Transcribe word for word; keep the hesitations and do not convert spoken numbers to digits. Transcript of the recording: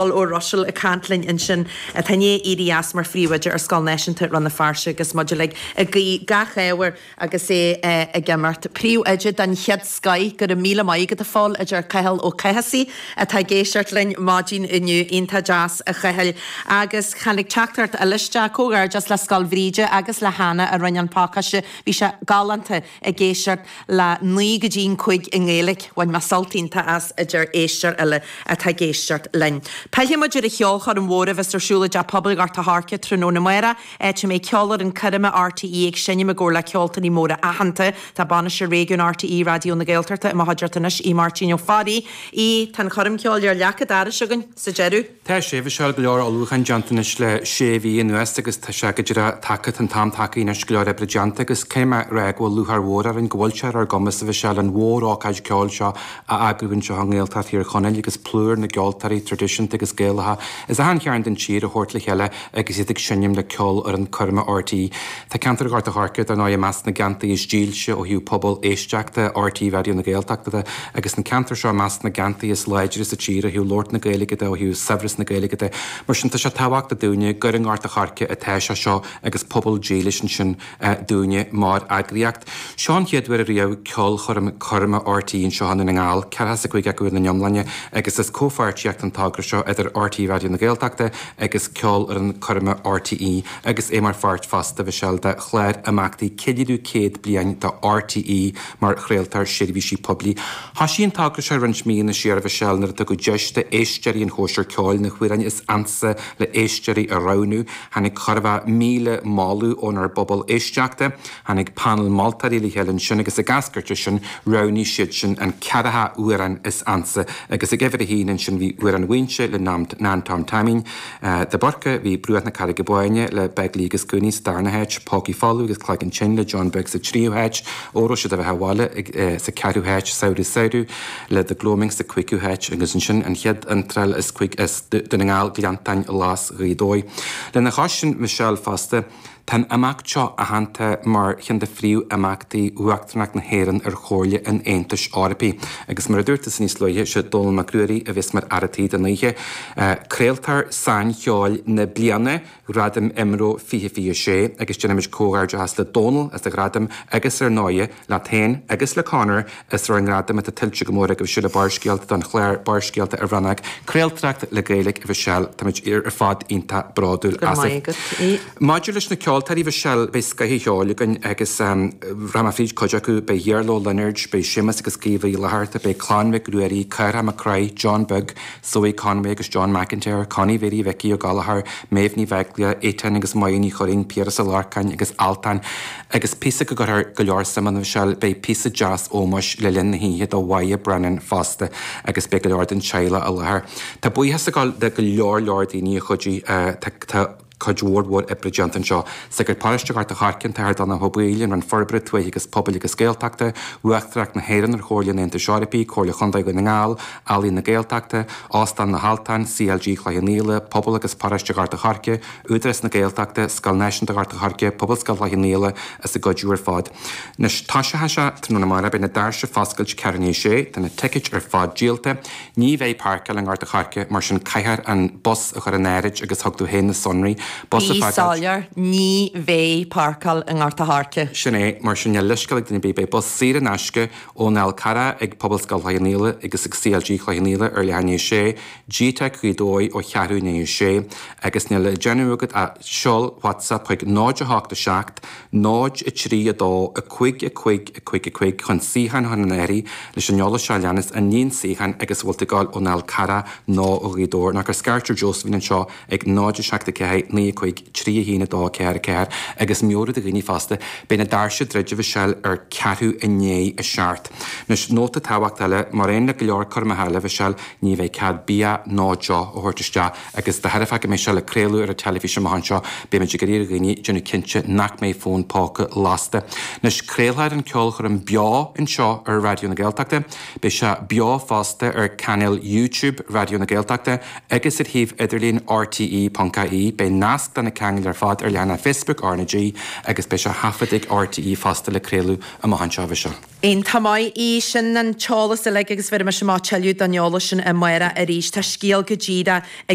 Ó Ruiséil ag caint linn ansin atá i ndiaidh éirí as mar phríomhoide ar Scoil Náisiúnta Rann na Feirste agus muid uilig ag guí gach ádh air agus é ag imeacht. Príomhoide den chéad scoith, go raibh míle maith agat a Phóil, a deir Cathal Ó Cathasaigh atá ag éisteacht linn maidin inniu. Iontach deas a Chathail. Agus tháinig teachtaireacht eile isteach, comhghairdeas le Scoil Bhríde agus le Hannah a rinne an pacáiste. Bhí sé galánta ag éisteacht le naoi go dtí an cúig i nGaeilge. Bhain mé sult iontach as, a deir éisteoir eile atá ag éisteacht linn. Pillfidh muid ar an cheolchoirm mhór a bheas ar siúl i dTeach Pobail Ghort a' Choirce tráthnóna amárach, áit a mbeidh ceolfhoireann coirme RTÉ ag seinm i gcomhar le ceoltóirí móra aitheanta. Tá Bainisteoir Réigiúin RTÉ Raidió na Gaeltachta i mo chuideachta anois, Aodh Máirtín Ó Fearraigh. Aodh, tá an choirm ceoil ar leac an dorais againn sa deireadh. Tá sé, bhí sé go leor ullmhúchán déanta anois le sé mhí anuas agus tá sé go díreach tagtha, tá an t-am tagtha anois go leor oibre déanta agus caithfidh mé a rá go bhfuil lúcháir mhór orainn go bhfuil sé ar ár gcumas a bheith sé an mhór-ócáid ceoil seo a eagrú anseo i nGaeltacht Thír Chonaill agus plúr na gceoltóirí traidisiúnta agus Gaelacha as achan chearn den tír a thabhairt le chéile agus iad ag seinm le ceolfhoireann coirme RTÉ. Tá ceantar Ghort a' Choirce dar ndóigh i measc na gceantair is dílse ó thaobh pobal éisteachta RTÉ Raidió na Gaeltachta de agus an ceantar seo i measc na gceantair is láidre sa tír ó thaobh labhairt na Gaeilge de ó thaobh saibhreas na Gaeilge de. Mar sin tá sé tábhachtach dúinne gur i nGort a' Choirce atá sé seo agus pobal dílis ansin dúinne mar eagraíocht. Seo an chéad uair riamh ceolchoirm coirme RTÉ anseo i nDún na nGall, ceathracha a cúig acu ina n-iomláine agus is comhpháirtíocht an togra seo idir RTÉ Raidió na Gaeltachta agus ceolfhoireann coirme RTÉ agus é mar pháirt fosta bhí sé de chlár imeachtaí ceiliúradh céad bliain de RTÉ mar chraoltóir seirbhísí poiblí. Thosaigh an togra seo roinnt míonna siar bhí sé nuair a tugadh deis d'éisteoirí an chóisir ceoil na hamhráin is ansa le héisteoirí a roghnú, tháinig chóir a bheith míle moladh ónár bpobal éisteachta, tháinig panel moltóirí le chéile ansin agus ag eascairt sin roghnaigh siad sin an ceathracha amhrán is ansa agus ag uimhir a haon ansin bhí Amhrán Mhaínse le Nan Tom Taimín, de Búrca, bhí Bruach na Carraige Báine le Begley agus Cooney sa darna háit, Pócaí Folamh agus Cloigeann Tinn le John Beag sa tríú háit, Óró Sé do Bheatha 'Bhaile sa ceathrú háit, Samhradh Samhradh le The Gloaming sa cúigiú háit agus ansin an chéad iontráil is cuig as Dún na nGall Gleanntáin Ghlas Ghaoth Dobhair. Lena chois sin Michelle fosta, Tá an imeacht seo aitheanta mar cheann de phríomhimeachtaí Uachtaránacht na hÉireann ar Chomhairle an Aontais Eorpaigh agus mar a dúirt tusa níos luaithe, sé Dónall Mac Ruairí a bheas mar fhear an tí don oíche. Craoltóir Saincheoil na Bliana, Ghradaim IMRO fiche fiche sé agus déanaimid comhghairdeachas le Dónall as a ghradam agus ar ndóighe leat féin agus le Conor as bhur ngradam atá tuillte go mór agaibhse le Barrscéalta don chlár Barrscéalta ar RnaG Craoltóireacht le Gaeilge a Mhichelle. Táimid ar fad iontach bródúil Go raibh maith asaibh. agat. Aodh. Maidir leis na ceoltóirí Mhichelle, beidh scoth an cheoil againn agus rachaidh mé fríd cuid acu, beidh Iarla Ó Lionáird, beidh Séamus agus Caoimhe Uí Fhlatharta, beidh Clann Mhic Ruairí, Cárthach Mac Craith, John Beag, Zoe Conway agus John McIntyre, Connie Mhéirí Mhicí Ó Gallchóir, Méabh Ní Bheaglaoich, Étáin agus Moya Ní Churraoin, Piaras Ó Lorcáin agus Altan. Agus píosa go gcuirfear go leor suim ann a Mhichelle, beidh píosa deas ómóis le linn na hoíche do Mháire Brennan fosta agus beidh go leor den teaghlach i láthair. Tá buíochas ag dul do go leor leor daoine a chuidigh, tá cuid mhór mhór oibre déanta anseo. Sagart Paróiste Ghort a' Choirce, an tAthair Donncha Ó Baoill, an Roinn Forbartha Tuaithe agus Pobail agus Gaeltachta, Uachtaránacht na hÉireann ar Chomhairle an Aontais Eorpaigh, Comhairle Chontae Dhún na nGall, Ealaín na Gaeltachta, Óstán na hAltan, CLG Chloich Cheann Fhaola, Pobal agus Paróiste Ghort a' Choirce, Údarás na Gaeltachta, Scoil Náisiúnta Ghort a' Choirce, Pobalscoil Chloich Cheann Fhaola as a gcuidiú ar fad. Anois, toiseoidh sé tráthnóna amárach, beidh na doirse ag foscailt ceathrú i ndiaidh a sé, tá na ticéid ar fad díolta. Ní bheidh páirceáil i nGort a' Choirce, mar sin caithfear an bus a chur in áirithe agus thug tú féin na sonraí. Bus a Bí fhágáilt. soiléir, ní bheidh páirceáil i nGort a' Choirce. Sin é, mar sin níl leithscéal ag duine ar bith, beidh bus saor in aisce ón Fhál Carrach ag Pobalscoil Chloich Cheann Fhaola agus ag CLG Chloich Cheann Fhaola ar leath i ndiaidh a sé, GTeic Ghaoth Dobhair ó cheathrú i ndiaidh a sé, agus níl le déanamh agat ach seol WhatsApp chuig náid a hocht a seacht, náid a trí a dó, a cúig a cúig a cúig a cúig chun suíochán a chur in áirithe leis an eolas seo a leanas, an líon suíochán agus an bhfuil tú ag gabháil ón Fhál Carrach nó ó Ghaoth Dobhair nó cuir scairt ar Josephine anseo ag náid a seacht a ceathair naoi a cúig trí a haon a dó ceathair a ceathair agus meabhrú do dhaoine fosta, beidh na doirse ag druidim a Mhichelle ar ceathrú i ndiaidh a seacht. Anois, nóta tábhachtach eile, mar aon le go leor coirmeacha eile a Mhichelle, ní bheidh cead bia ná deoch a thabhairt isteach agus de thairbhe go mbeidh sé le craoladh ar an teilifís amach anseo, beimid ag iarraidh ar dhaoine déanamh cinnte nach mbeidh fón póca lasta. Anois, craolfar an ceolchoirm beo anseo ar Raidió na Gaeltachta. Beidh sé beo fosta ar chainéal YouTube Raidió na Gaeltachta agus ar shuíomh idirlín rte.ie. Beidh nasc nasc do na ceangail ar fad ar leathanach Facebook RnaG agus beidh sé taifeadta ag RTÉ fosta le craoladh amach anseo seo. Iontach maith í sin an t-eolas uilig agus bheir me má tuilleadh don eolas sin amárach arís Tá scéal go díreach ag